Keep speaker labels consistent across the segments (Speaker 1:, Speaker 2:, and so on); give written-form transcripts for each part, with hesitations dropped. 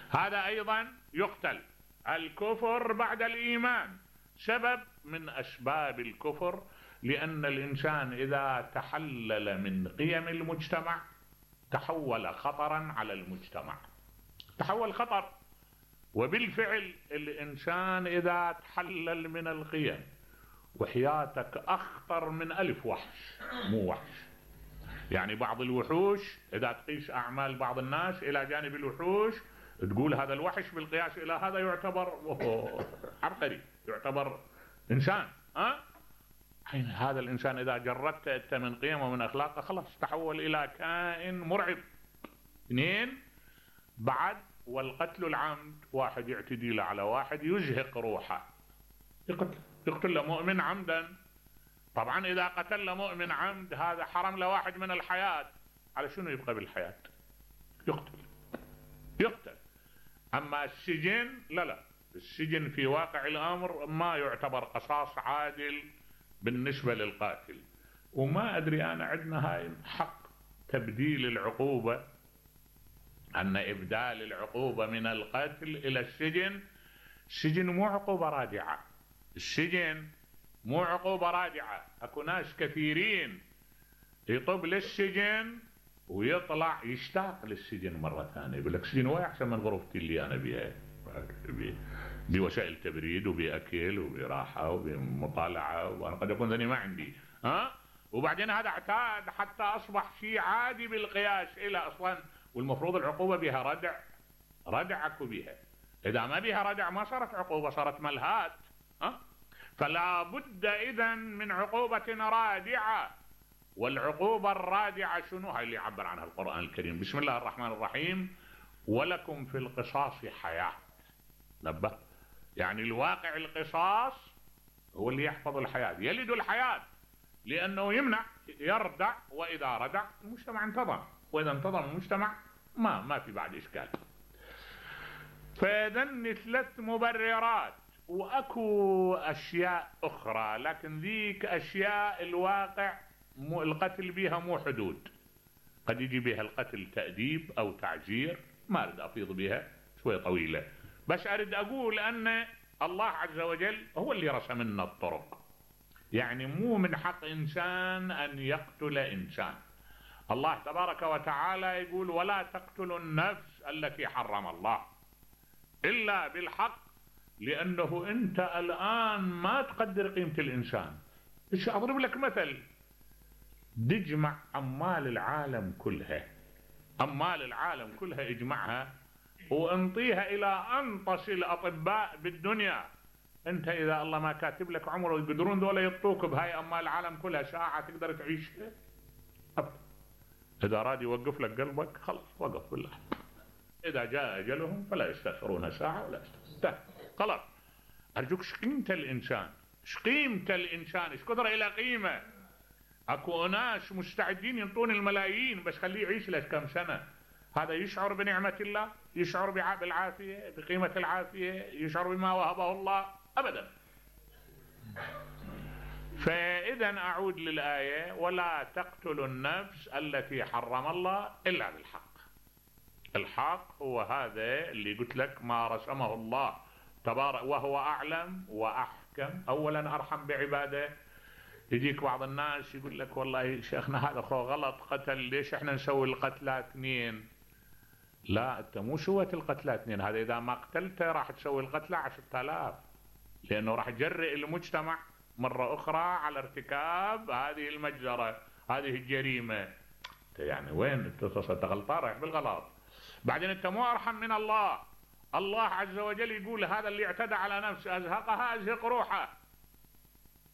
Speaker 1: هذا أيضا يقتل. الكفر بعد الإيمان سبب من أسباب الكفر، لأن الإنسان إذا تحلل من قيم المجتمع تحول خطرا على المجتمع، تحول خطر. وبالفعل الإنسان إذا تحلل من القيم، وحياتك أخطر من 1000 وحش، مو وحش يعني. بعض الوحوش إذا تقيس أعمال بعض الناس إلى جانب الوحوش تقول هذا الوحش بالقياس إلى هذا يعتبر عبقري، يعتبر إنسان. حين هذا الإنسان إذا جردت أنت من قيمه ومن أخلاقه خلاص تحول إلى كائن مرعب. 2 بعد والقتل العمد، واحد يعتدي له على واحد يزهق روحه، يقتل له مؤمن عمدا. طبعا إذا قتل مؤمن عمد هذا حرم له واحد من الحياة، على شنو يبقى بالحياة؟ يقتل. أما السجن لا، السجن في واقع الأمر ما يعتبر قصاص عادل بالنسبة للقاتل. وما أدري أنا عندنا هاي حق تبديل العقوبة، أن إبدال العقوبة من القتل إلى السجن. السجن مو عقوبة رادعة، السجن مو عقوبة رادعة. أكو ناس كثيرين يطب للسجن ويطلع يشتاق للسجن مرة ثانية، يقول لك سجن واحد أحسن من غرفتي اللي أنا بيها، بوسائل تبريد وبأكل وبراحة وبمطالعة، وأنا قد أكون ذني ما عندي. وبعدين هذا اعتاد حتى أصبح شيء عادي بالقياس إلى أصلا. والمفروض العقوبة بها ردع أكو بها. إذا ما بها ردع ما صارت عقوبة، صارت ملهات. فلا بد إذن من عقوبة رادعة. والعقوبة الرادعة شنو؟ هاي اللي يعبر عنها القرآن الكريم. بسم الله الرحمن الرحيم: ولكم في القصاص حياة. نبه، يعني الواقع القصاص هو اللي يحفظ الحياة، يلد الحياة، لأنه يمنع يردع، وإذا ردع المجتمع انتظم، وإذا انتظم المجتمع ما في بعد إشكال. فإذن 3 مبررات، وأكو أشياء أخرى لكن ذيك أشياء الواقع القتل بها مو حدود. قد يجي بها القتل تأديب أو تعزير، ما أريد أفيض بها شوية طويلة، بس أريد أقول أن الله عز وجل هو اللي رسم لنا الطرق. يعني مو من حق إنسان أن يقتل إنسان. الله تبارك وتعالى يقول: ولا تقتلوا النفس التي حرم الله إلا بالحق، لأنه أنت الآن ما تقدر قيمة الإنسان. إيش أضرب لك مثل: تجمع أموال العالم كلها، أموال العالم كلها اجمعها وانطيها إلى أنطس الأطباء بالدنيا، أنت إذا الله ما كاتب لك عمره يقدرون دول يطوك بهاي أموال العالم كلها ساعة تقدر تعيش؟ إذا راد يوقف لك قلبك خلاص وقف بالله. إذا جاء أجلهم فلا يستأخرون ساعة ولا يستأخرون. خلاص. أرجوك شقيمة الإنسان، شقيمة الإنسان، ايش قدر إلى قيمة. أكو ناس مستعدين ينطون الملايين بس خليه يعيش له كم سنة. هذا يشعر بنعمة الله، يشعر بالعافية، بقيمة العافية، يشعر بما وهبه الله؟ أبدا. فإذا أعود للآية: ولا تقتلوا النفس التي حرم الله إلا بالحق. الحق هو هذا اللي قلت لك ما رسمه الله تبارك، وهو أعلم وأحكم. أولا أرحم بعباده. يجيك بعض الناس يقول لك: والله شيخنا هذا خو غلط قتل، ليش احنا نسوي القتلى 2؟ لا، انت مو سويت القتلى 2، هذا اذا ما قتلته راح تسوي القتلى 10,000، لانه راح يجرئ المجتمع مرة اخرى على ارتكاب هذه المجزرة، هذه الجريمة. يعني وين انت غلطان، رايح بالغلط. بعدين انت مو ارحم من الله. الله عز وجل يقول: هذا اللي اعتدى على نفسه ازهقها ازهق روحه.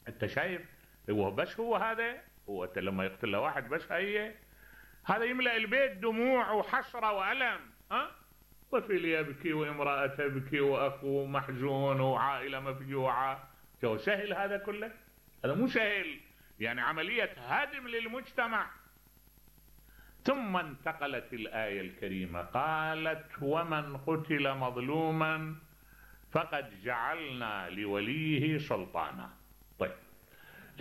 Speaker 1: انت شايف هو بس هو هذا، هو لما يقتل له واحد بس هذا يملأ البيت دموع وحسرة وألم. طفل يبكي وامرأة تبكي وأخو محزون وعائلة مفجوعة. جو سهل هذا كله؟ هذا مو سهل، يعني عملية هدم للمجتمع. ثم انتقلت الآية الكريمة قالت: ومن قتل مظلوما فقد جعلنا لوليه سلطانا. طيب،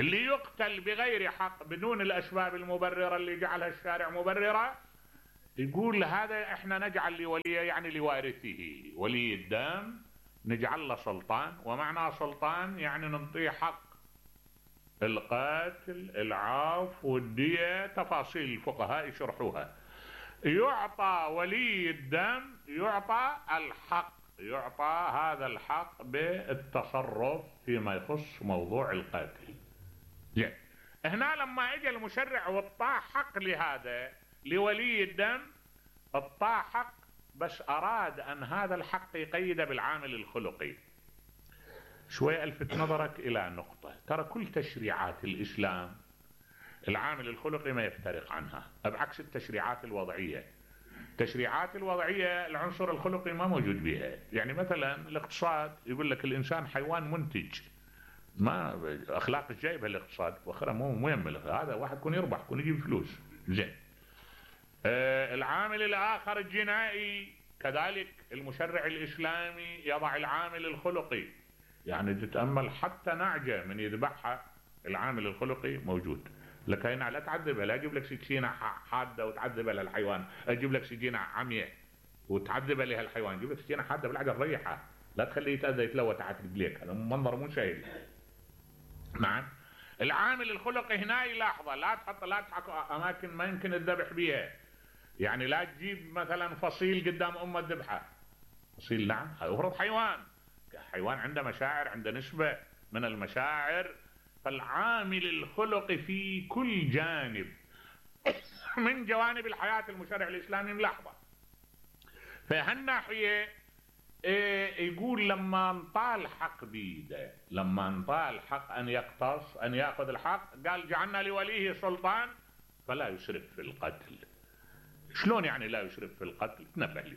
Speaker 1: اللي يقتل بغير حق بدون الأسباب المبررة اللي جعلها الشارع مبررة، يقول هذا احنا نجعل لوليه يعني لوارثه ولي الدم نجعل له سلطان، ومعنى سلطان يعني ننطيه حق القتل العفو والدية، تفاصيل الفقهاء يشرحوها. يعطى ولي الدم يعطى الحق، يعطى هذا الحق بالتصرف فيما يخص موضوع القتل. زين، هنا لما اجى المشرع واعطاه حق لهذا لولي الدم، اعطاه حق بس اراد ان هذا الحق يقيده بالعامل الخلقي. شوي الفت نظرك الى نقطة، ترى كل تشريعات الاسلام العامل الخلقي ما يفترق عنها، بعكس التشريعات الوضعية. التشريعات الوضعية العنصر الخلقي ما موجود بها. يعني مثلا الاقتصاد يقول لك الانسان حيوان منتج، ما اخلاق جايبها الاقتصاد واخرها مو يهمل، هذا واحد يكون يربح يكون يجيب فلوس. زين، العامل الاخر الجنائي كذلك المشرع الاسلامي يضع العامل الخلقي. يعني تتامل حتى نعجه من يذبحها العامل الخلقي موجود. لك هنا لا تعذبها، لا اجيب لك سكينه حاده وتعذبها للحيوان، اجيب لك سكينه عمياء وتعذبها لها الحيوان، اجيب لك سكينه حاده بالعجل ريحها، لا تخليه يتاذى يتلوى تحت رجليك، هذا منظر مو سهل. نعم، العامل الخلقي هنا يلاحظه، لا تحط اماكن ما يمكن الذبح بها. يعني لا تجيب مثلا فصيل قدام امه الذبحه، فصيل نعم يفرض حيوان عنده مشاعر، عنده نسبه من المشاعر. فالعامل الخلقي في كل جانب من جوانب الحياه المشرع الاسلامي ملاحظه. فهالناحيه يقول لما انطى الحق بيده، لما انطى الحق ان يقتص ان ياخذ الحق، قال جعلنا لوليه سلطان فلا يسرف في القتل. شلون يعني لا يسرف في القتل؟ تنبه لي.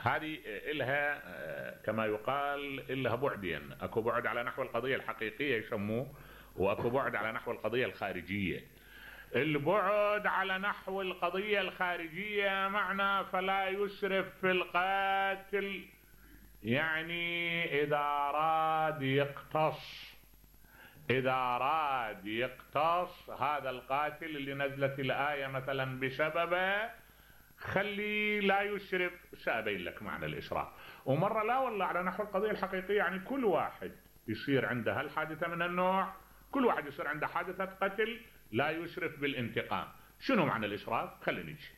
Speaker 1: هذه إلها كما يقال إلها بعدين، اكو بعد على نحو القضية الحقيقية يسموه، واكو بعد على نحو القضية الخارجية. البعد على نحو القضية الخارجية معنى فلا يسرف في القاتل، يعني إذا أراد يقتص، إذا أراد يقتص هذا القاتل اللي نزلت الآية مثلا بسببه، خلي لا يسرف. سأبين لك معنى الإسراف. ومرة لا والله على نحو القضية الحقيقية، يعني كل واحد يصير عنده هالحادثة من النوع، كل واحد يصير عنده حادثة قتل لا يسرف بالانتقام. شنو معنى الإسراف؟ خلينا نجي.